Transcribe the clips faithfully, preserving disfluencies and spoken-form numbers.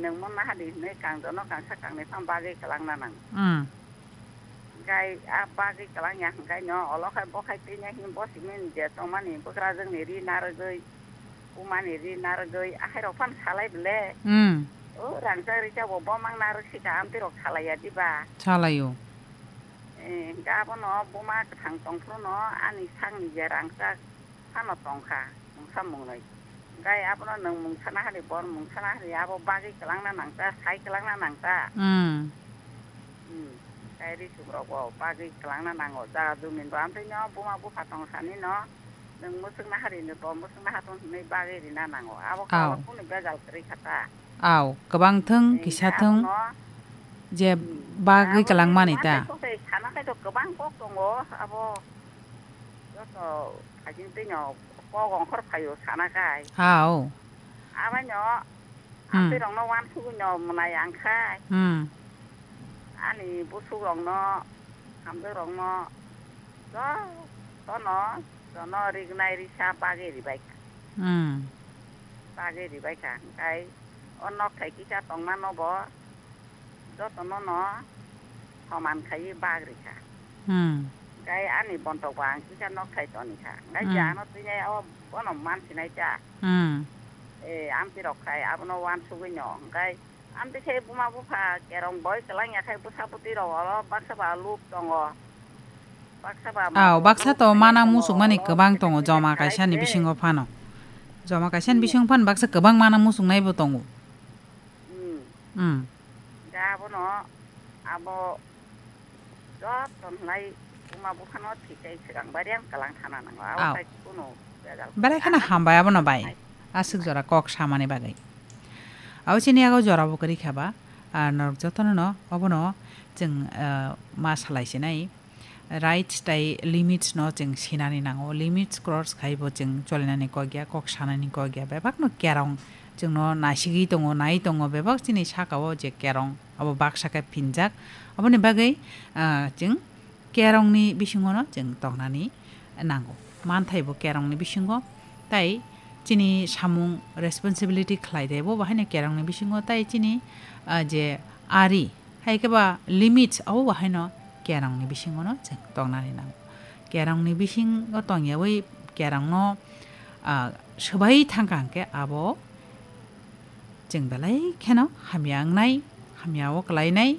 Nwng monna hadi hinwi kangjono kangsa kangnwi phano bagwi kwlangna nango. Hmm. Gai a bagwi kwlangya hwnkhe no olo khai bo khai twi nai hini bo simi je tongmani bwkrajwkni ri narwgwi, bumani ri narwgwi, ahairok phano salai bwle. Hmm. O rangchak rijak bo bo mang narwk sika amtwi rok salaiya diba? Salaio. Eh, hwnkhe abono buma kwthang tongphuru no ani sakni je rangchak phano tongkha mungsa mungnwi. Gai abono nwng mungsa nahari, bor mungsa nahari, abo bagwi kwlangna nangta, sai kwlangna nangta. Hmm. Hmm. Gai risuk rok bo bagwi kwlangna nango, jaga jumi bo amtwi no buma bupha tong sani no. Nwng mwswk nahari ni bo mwswk nahatung hinwi bagwi rina nango. Abo Aw. Kabo kunu bejal kwrwi kha ta. Aw, kwbang thung, eh, kisa thung, abono, je hmm, bagwi abo kwlangmani ta. Tei kok tei sana khai to kwbang kok tongo, abo joto hajing twi no kok ongkhor phaio sana khai. Aw. Abaino Hmm. Amtwirokno wansugwino mwnai ang khai. Hmm. Ani bwswkrokno, hamjakrokno jotono, jono rignai risa bagwi ribaikha. Hmm. Bagwi ribaikha. Hwnkhe o nokthai kisa tongmano bo jotono no soman khaiwi bag rikha. Hmm. Hwnkhe ani bontok bo ang kisa nokthai tonikha. Hwnkhe Hmm. je ano twinai o bono mansinai ta. Hmm. Eh, amtwi rok khai abono wansugwi no. Hwnkhe amtwi khe buma bupha kerong boi kwlangya khai bwsa bwtwi rok oro baksa ba lup tongo. Baksa ba Aw, baksa to lup manang khai musuk mani oro kwbang tongo, kisa joma kisa kaisa ni khai se. Bisingo phano. Joma kaisa ni Hmm. bisingo phano baksa kwbang manang musuk nai bo tongo. Hmm. Hmm. Da abono abo joto nai buma buphano thwitai swkang bari ang kwlang thana nango. Abo Aw. Khai kunu bejal Belai kheno kwrwi. Hambai abono bai. Hai. Aswk jora kok samani bagwi. Abo chini yago jora bo kwrwi kha ba, ah, norok jotono no obono chwng, ah, ma salai sinai. Rights tai limits no chwng sinani nango. Limits cross khai bo chwng cholinani kok ya, kok sanani kok ya. Bebak no kerong chwngno naisigwi tongo, nai tongo. Bebak chini saka o je kerong, abo baksa khe phinjak. Aboni bagwi, ah, chwng kerongni bisingo no chwng tongnani nango. Manthai bo kerongni bisingo, tai chini samung responsibility khlai de bo bahaino kerongni bisingo, tai chini, ah, je ari, hai khe ba limits abo bahaino kerongni bisingo no chwng tongnani nango. Kerongni bisingo tongyawi kerongno, ah, swbai thangkha hwnkhe abo chwng belai kheno hamya wngnai, hamya o kwlainai,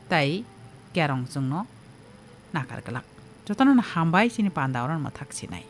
tai kerong chwngno nakar glak. Jotono no hambai chini panda oro no mwthak sinai.